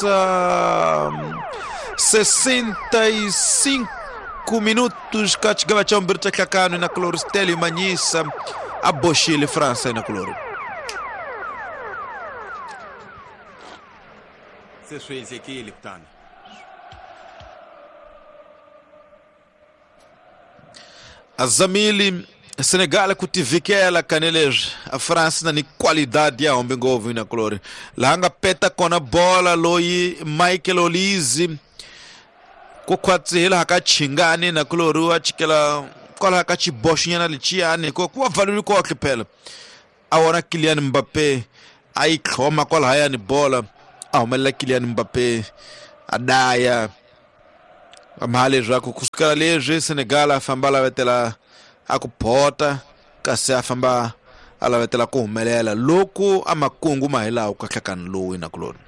Manyisa 65 minutos ka xigava xa vumbirhi xa nhlakano na Cloristelio Manyisa a boxile France na Clori. Se swi endlekile kutani. Azamili Senegal ku tivikela kanileswi a France na ni qualidade ya hombe ngopfu na Clori laha nga peta kona bola loyi Michael Olise ku khwatsi hi laha ka chingani na Clori wa chikela kwalaha ka xiboxonyana lexiyani ko ku va pfaluli kohle phela a wona Kylian Mbappe a yi tlhoma kwalahayani bola a humelela Kylian Mbappe a daya mha leswaku kusukela leswi Senegal a famba a lavetela a ku phota kasi a famba a lavetela ku humelela loku a makungu ma hi laha ka nhlakano lowu inakuloni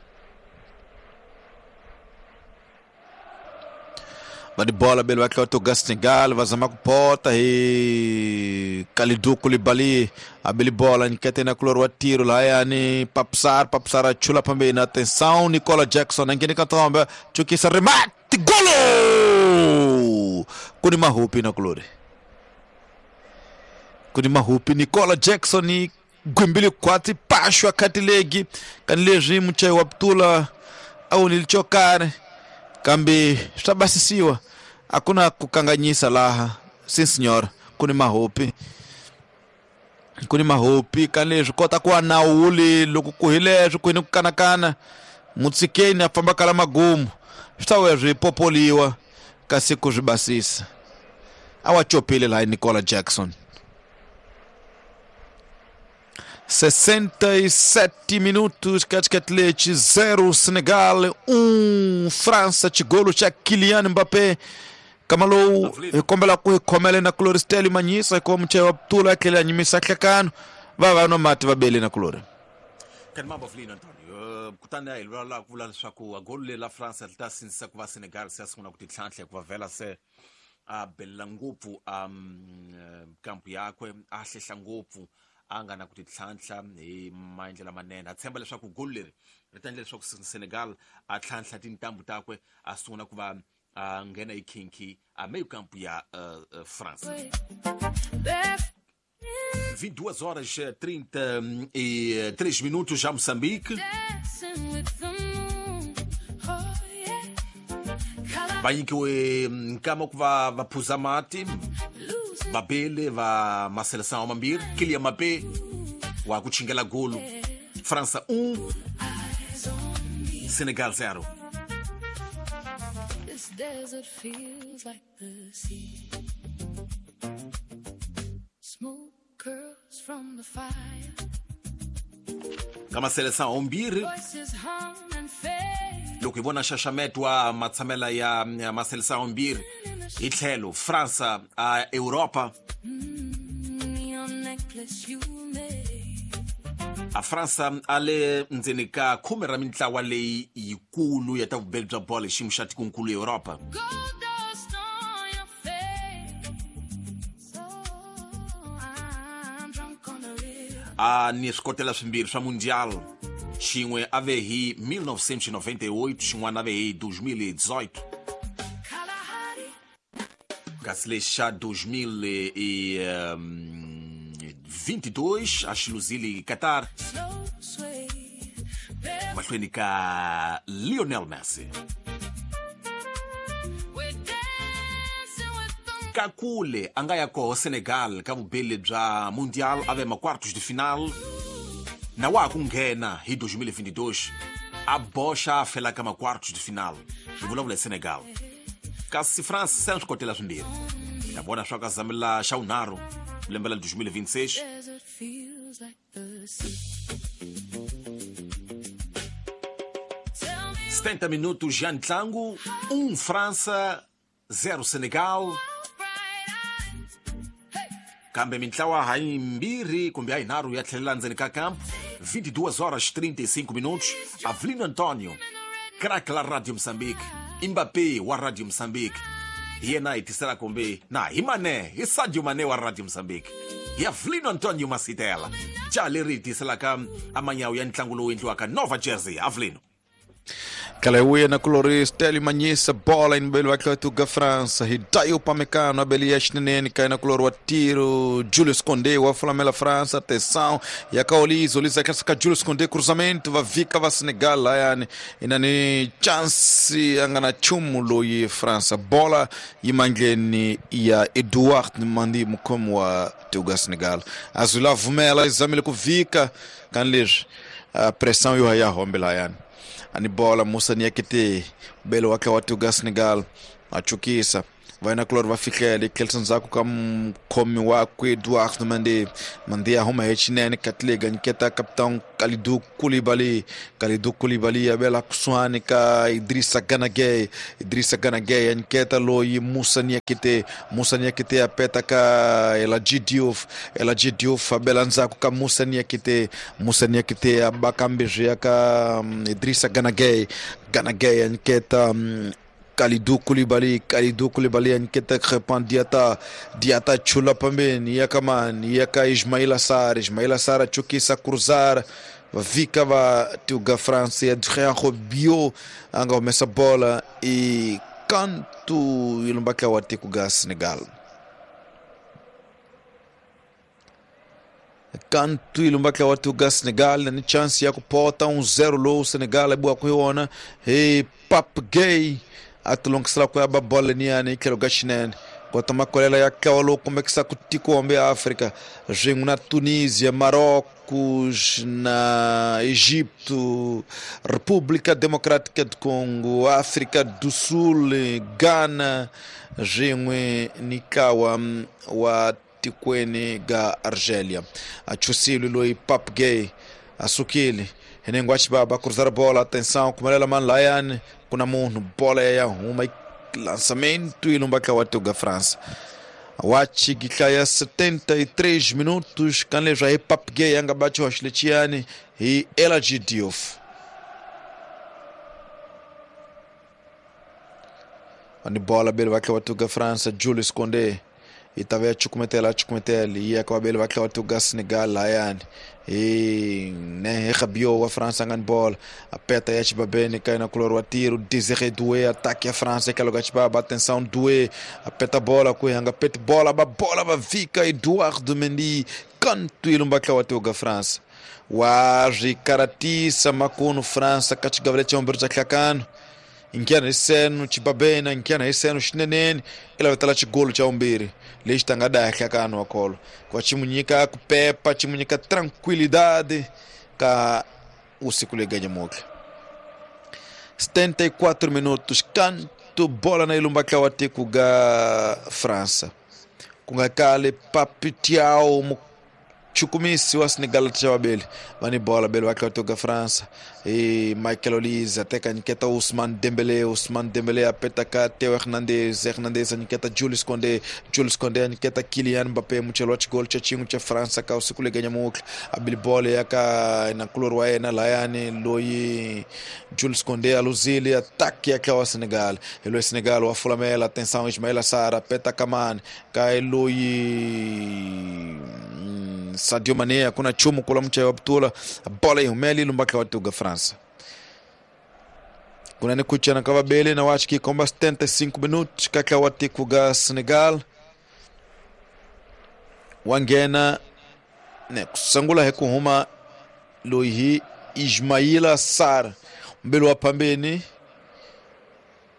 va tibola bele va tlota ga Senegal va zama ku phota hi Kalidou Koulibaly a bele bola nyikete na kulori wa tiro lahayani Papsar Papsar a chula pambeni atenção Nicola Jackson a ngheni ka ntombe chukisa remate golo ku ni mahupi na kulori ku ni mahupi Nicola Jackson gwimbile khwatsi paxwa khatilegi kani leswi muchayi wa putula a wunile xo karhi kambe swa basisiwa a ku na ku kanganyisa laha sim senhor ku ni mahopi ku ni mahopi kani leswi kota ku wa nawuli loko ku hi leswi ku hi ni ku kanakana mutshikeni a famba kala magumu swi ta vuya swi popoliwa kasi ku swi basisa a wa copile laha Nicola Jackson 67 minutos katikati 0 Senegal 1 França xigolo xa Kylian Mbappé kama lowu hi kombela ku hi khomela na Cloristel Manyisa hikuva muchayi wa putula a tlhela a nyimisa nhlekano va va nwa mati va bele na Clori Kani mambo Avelino Antonio kutani a hi vulavula ku vula leswaku golo leri la France ri ta sindzisa ku va Senegal se a sungula ku titlhantlha hikuva vhela se a belela ngopfu kampu yakwe a hlehla ngopfu a nga na ku titlhantlha hi maendlelo lamanene a tshemba leswaku golo leri ri ta endla leswaku Senegal a tlhantlha tintambu takwe a sungula ku va a nghena hi khinkhi a meyo kampu ya France. 22 horas 33 minutos já Moçambique. Va nyikiwe nkama ku va va phuza mati vabele va maseleção mambirhi Kylian Mbappé wa ku chingela golo França 1 Senegal 0. This desert feels like the sea. Smoke curls from the fire. Ka maseleção mbirhi Voices hum and fade. Loko hi vona xaxameto wa matshamela ya maseleção mbirhi hi tlhelo França a Europa. Neon necklace you made. A França a le ndzeni ka khume ra mintlawa leyi yikulu ya ta vubeli bya bolo hi xiyimo xa tikonkulu Europa. Gold dust on your face. Oh, I'm drunk on the river. A ni swikotela swimbirhi swa mundial xin'we a ve hi 1998 xin'wana a ve hi 2018 Kalahari. Kasi lexi xa 2022 a xi luzile Qatar Slow sway. Mahlweni ka Lionel Messi. We're dancing with the Ka kule a nga ya koho Senegal ka vubeli bya mundial a ve ma quartos de final na wa ha ku nghena hi 2022 a boxa a fela ka ma quartos de final hi vulavula hi Senegal kasi France se a swi kotela swimbirhi hi ta vona swa ka zamela xa vunharhu lembe la 2026. Desert feels like the sea. Tell me 70 minutos já ntlangu 1 França 0 Senegal bright eyes. Kambe mintlawa hayimbirhi kumbe hayinharhu ya tlhelela ndzeni ka camp 22 horas 35 minutos Avelino Antonio crack la Radio Moçambique Mbappé wa Radio Moçambique hi yena hi tisela kumbe na hi Mane hi Sadio Mane wa Radio Moçambique hi Avelino Antonio Masitela jaha leri hi tiselaka amanyawu ya ntlangu lowu endliwaka Nova Jersey Avelino. Tlhela hi vuya na kulori Stanley Manyisa bola inibeli wa tlhela França Hidayo Upamecano abeli ya xineneni ka yena kulori wa tiro Julius Condé wa fulamela França atenção ya ka Olise Olise atlhela ka Julius Condé cruzamento va vika va Senegal layani inani chance a nga na nchumu loyi França bola yi mandleni ya Edouard Mandi mukhomi wa tiko ya Senegal a zula vumela yi zamile ku vika kani leswi pressão yo ya hombe layani ani bola Musa Niakite belo wakhe wa tiko ya Senegal a chukisa vai na kulori va fihlela tlhelisa ndzhaku ka mukhomi wakwe Edouard Mandi Mandi a huma hi xinene Katliga nyiketa capitão Kalidou Koulibaly Kalidou Koulibaly a bela kusuhani ka Idrissa Gana Gueye Idrissa Gana Gueye a nyiketa loyi Musa Niakite Musa Niakite a peta ka Eladji Diouf Eladji Diouf a bela ndzhaku ka Musa Niakite Musa Niakite a ba kambe ka Idrissa Gana Gueye Gana Gueye a nyiketa Kalidou Koulibaly Kalidou Koulibaly aniketa Crepin Diata Diata chula pambeni yakamani yaka Ismaila Sarr Ismaila Sarr chukisa cruzar vika va tiuga France Adrien Rabiot anga humesa bola e canto ilumbaka wa tikuga Senegal canto ilumbaka wa tikuga Senegal ni chance ya kupota 1-0 low Senegal e boa kuiona e Pape Gueye atulongisela ku ya ba bola niyani tlhelo ka xinene kota makolela ya ntlawa kumbe ku tiko hombe ya África swin'we na Tunisia, Marrocos, na Egipto, República Democrática do Congo, África do Sul, Ghana swin'we ni ntlawa wa tikweni ga Argelia. A chusile loyi Pape Gueye a sukile henengo a xibaba cruzar bola, atenção kumelela mani layani kuna munhu bola ya huma lançamento e lumbaka wa tuga França wachi gitlaya 73 minutos kanlezwa hi Pape Gueye anga bachi wa xilechiyani hi Eladji Diouf ani bola bele va wa tuga França Julius Condé itave chukumetela chukumetela iya kwa bele va wa tuga Senegal layani e ne Rabiot wa França ngan bola apeta ya Chibabene cai na color wa tiro Désiré Doué ataque a França que logo Chibaba atenção Doué apeta bola kuhanga pet bola ba bola ba vika Eduardo Mendy canto ilumbaka wa tuga França wa Rikaratisa makuno França kachigavle chomberja klakano inkiana isenu Chibabena inkiana isenu xinenene ila vetala xigolo cha umbiri lexi tanga daya hlakano wa kholo kwa chimunyika kupepa chimunyika tranquilidade ka usiku leganyamuka 74 minutos canto bola na ilumba wa tiko ga França kunga kale Pape Thiaw chukumisi wa Senegal tshawabeli vani bola bele wakhe watoka França e Michael Olise ateka nyiketa Ousmane Dembélé Ousmane Dembélé apeta ka Theo Hernandez Hernandez nyiketa Julius Condé Julius Condé nyiketa Kylian Mbappé muchelo wa chigol cha chingu cha França ka usiku leganya mukla abili bola yaka na kulor wa yena layani loyi Julius Condé aluzili ataque ya wa Senegal elo Senegal wa fulamela atenção Ismaila Sarr apeta Kamani ka eloyi Sadio Mané kuna chumu kula mcha wa ptula bola ihumeli lumbaka watuga França kuna ni kuchana kava bele na wachi kikomba 75 minutos kaka watikuga Senegal wangena ne kusangula hekuhuma loyi Ismaila Sarr mbele wa pambeni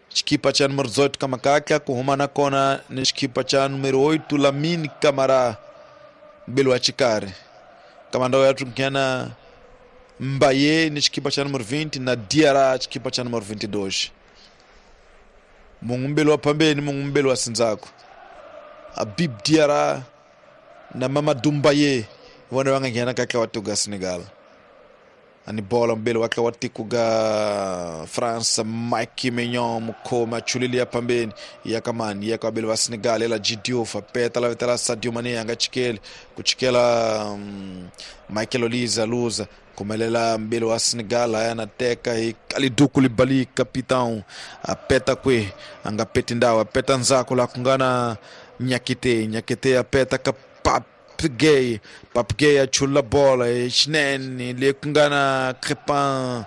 chikipa cha número 18 kama kaka kuhuma na kona ni chikipa cha número 8 Lamine Camara mbele wa chikari kamanda ya tunkiana Mbaye ni chikipa cha número 20 na Diarra chikipa cha número 22 mungu mbele wa pambeni mungu mbele wa sinzako Habib Diarra na Mamadou Mbaye wana wangangiana kaka watuga Senegal ani bola mbele wake watikuga France Mike Maignan mukoma chulilia pambeni yakamani yakabele wa Senegal ela Diouf apeta la vetela Sadio Mané anga chikele kuchikela Michael Olise luza kumelela mbele wa Senegal ayana teka Kalidou Koulibaly capitão apeta kwe anga peti ndawo apeta nzako la kungana Nyakite Nyakite apeta kapap Pape Gueye. Pape Gueye a chula bola xinene le ku nga na Crepin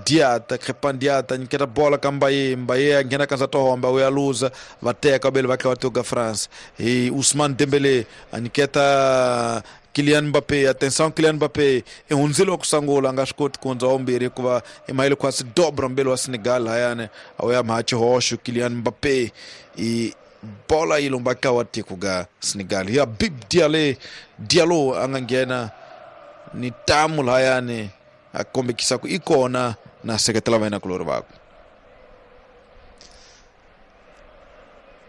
Diata. Crepin Diata nyiketa bola ka Mbaye. Mbaye a nghena ka ndzata homba u ya luza va teka vele va tlhela va teka France hi Ousmane Dembele a nyiketa Kylian Mbappé. Atenção, Kylian Mbappé i hundzile wa ku sungula a nga swi koti ku hundza wa vumbirhi hikuva i mahele khwasi dobra mbele wa Senegal hayani a wu ya mha xihoxo Kylian Mbappé i bola yi lomba ka wa tiko ga Senegal ya Bib Diallo a nga nghena ni tamu lahayani a kombekisa ku i kona na seketela vayena kulori vakwe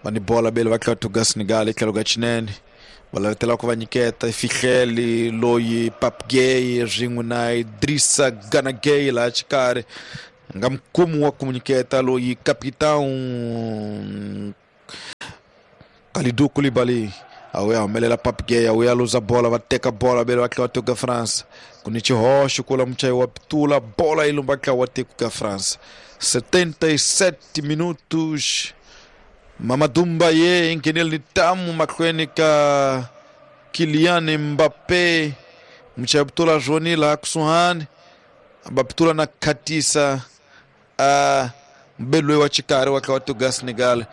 va ni bola bele va tlhela tuga Senegal i tlhelo ka xinene va lavetela ku va nyiketa fihleli loyi Pape Gueye swin'we na Idrissa Gana Gueye laha xikarhi nga mukumi wa ku nyiketa loyi capitão Kalidou Koulibaly a wu ya humelela Pape Gueye a wu ya luza bola va teka bola vele va tlhela va teka France ku ni xihoxo kula muchayi wa pitula bola yi lumba ntlawa wa tiko ka France. 77 minutos Mamadou Mbaye nghenele ni tamu mahlweni ka Kylian Mbappé muchayi wa pitula Joni laha kusuhani va pitula na khatisa a mbele loyi wa xikarhi wa ntlawa wa tiko ka Senegal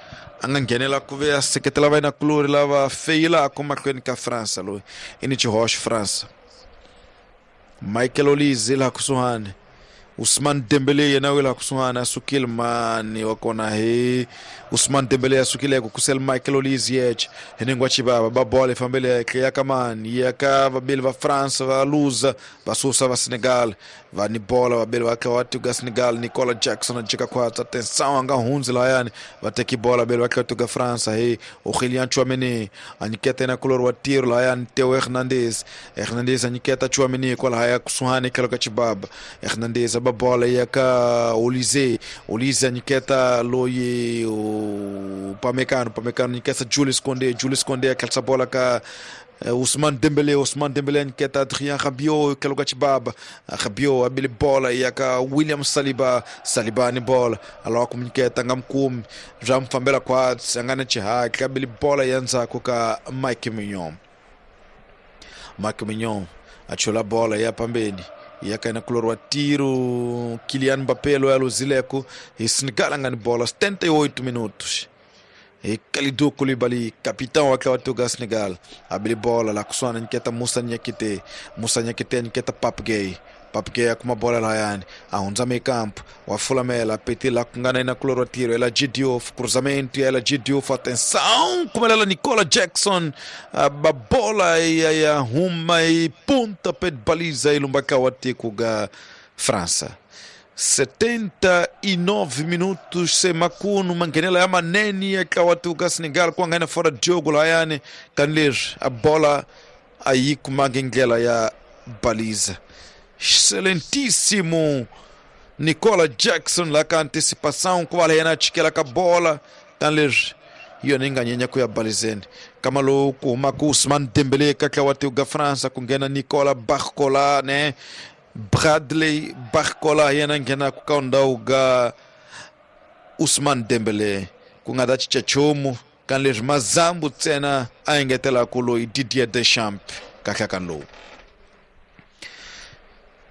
a nga nghenela ku ve a seketela vayena-kulori lava feyilaka mahlweni ka France loyi i ni xihoxo France. Michael Olise laha kusuhani Ousmane Dembele yena wi laha kusuhani a sukile mani wa kona hi Ousmane Dembele a sukile ku kusela Michael Olise yexe hi ningo wa xivava ba bola yi fambele henhla ya ka mani ya ka vabeli va France va luza va susa va Senegal va ni bola vabeli va tlhela va tiko ya Senegal Nicola Jackson a jika khwatsa atenção a nga hundzi lahayani va teki bola vabeli va tlhela tiko ya France hi Aurélien Tchouaméni a nyiketa yena kulori wa tiro lahayani Theo Hernandez. Hernandez a nyiketa Tchouaméni kwalahaya kusuhani tlhelo ka xibaba Hernandez a ba bola ya ka Olise. Olise a nyiketa loyi Upamecano. Upamecano nyiketa Julius Koundé. Julius Koundé a tlherisa bola ka Ousmane Dembele. Ousmane Dembele nyiketa Adrien Rabiot tlhelo ka xibaba Rabiot a bile bola ya ka William Saliba. Saliba ni bola a lava ku nyiketa nga mukumi bya mu fambela khwatsi a nga na xihatla a bile bola ya ndzhaku ka Mike Mignon. Mike Mignon a chula bola ya pambeni ya ka yena kulori wa tiro Kylian Mbappé loyi a luzileko hi Senegal a nga ni bola 78 minutos hi Kalidou Koulibaly capitão wa ntlawa wa tiko ya Senegal a bile bola laha kusuhani a nyiketa Musa Niakite. Musa Niakite a nyiketa Pape Gueye. Pape Gueye a kuma bola lahayani a hundza mekampo wa fulamela a petile laha ku nga na yena kulori wa tiro ela Diouf cruzamento ya ela Diouf atenção kumelela Nicola Jackson a ba bola ya huma yi punta pé de baliza yi lumba ka wa tiko ga França. 79 minutos se makunu manghenela ya manene ya ntlawa wa tiko ka Senegal ku nga na fora Diogo lahayani kanileswi a bola a yi kumangi ndlela ya baliza. Excelentíssimo Nicola Jackson lá ka antecipação ku va yena a chikela ka bola kanileswi hi yona yi nga nyenya ku ya balizeni kama lowu ku humaka Ousmane Dembele ka ntlawa wa tiko ka France ku nghena Nicola Barcola ne Bradley Barcola yena nghenaka ka ndhawu ga Ousmane Dembele ku nga ta cinca nchumu kanileswi mazambu ntsena a engetelaka loyi Didier Deschamps kahle ka lowu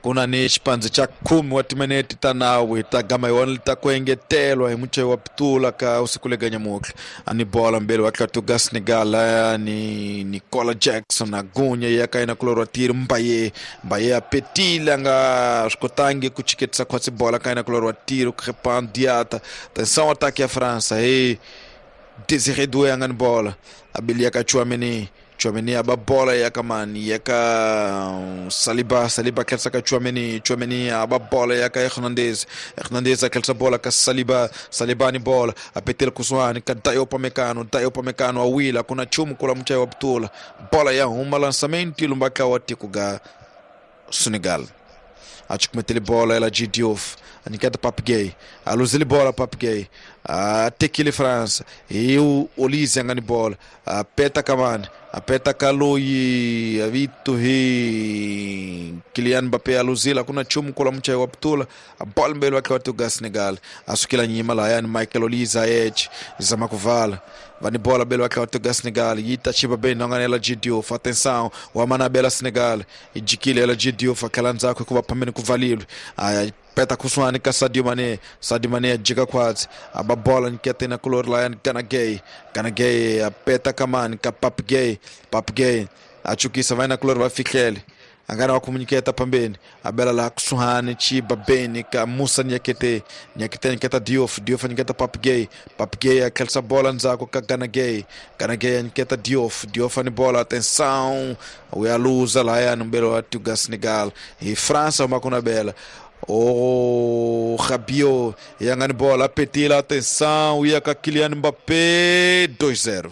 ku na ni xipandzi xa 10 wa timinete ta nawu hi ta gama yona ta ku engetelwa hi muchayi wa pitula ka usiku le ganyamutlha a ni bola mbele wa tlhela tuga Senegal ni Nicola Jackson a gunya ya ka yena kulori wa tiro Mbaye. Mbaye a petile a nga swi kotangi ku chiketisa khwatsi bola ka yena kulori wa tiro Crepin Diata. Atenção ataque ya France hi Désiré Doué a nga ni bola a bile ya ka Tchouaméni. Tchouaméni a ba bola ya ka mani ya ka Saliba. Saliba tlherisa ka Tchouaméni. Tchouaméni a ba bola ya ka Hernandez. Hernandez a tlherisa bola ka Saliba. Saliba ni bola a petela kusuhani ka Dayo Upamecano. Dayo Upamecano a wila ku na nchumu kula muchayi wa pitula bola ya huma lançamento yi lumba ka wa tiko ga Senegal. A chikumetele bola ela G Diouf a nyiketa Pape Gueye a luzile bola Pape Gueye a tekile France e o Olise a nga ni bola a peta kamani A peta ka loyi vito hi Kylian Mbappé a luzila kuna nchumu kula muchayi wa putula a bola mbeli wakhe wa tuga Senegal a sukela nyima lahayani Michael Olise ayeche zama kuvala vani bola bele wakhe wa tuga Senegal yita chiba bem nonganela Diouf atenção wa manabela Senegal ijikile ela Diouf akhala ndzakho kuva phambeni kuvalilwe aya peta kusuhani ka Sadio Mané. Sadio Mané ajika khwatsi aba bola nyiketa na kulori layani Gana Gueye. Gana Gueye apeta kamani ka Pape Gueye. Pape Gueye achukisa vai na kulori va fihlele angana wa kumunyiketa pambeni abela la kusuhani chiba beni ka Musa Niakate. Niakate nyiketa Diouf. Diouf nyiketa Pape Gueye. Pape Gueye akhelisa bola ndzhaku ka Gana Gueye. Gana Gueye nyiketa Diouf. Diouf ani bola atenção uyaluza layani mbele wa tuga Senegal hi França uma kuna bela. Oh, Rabiot, yangani bola, petila, atenção, ia ka Kylian Mbappé, 2-0.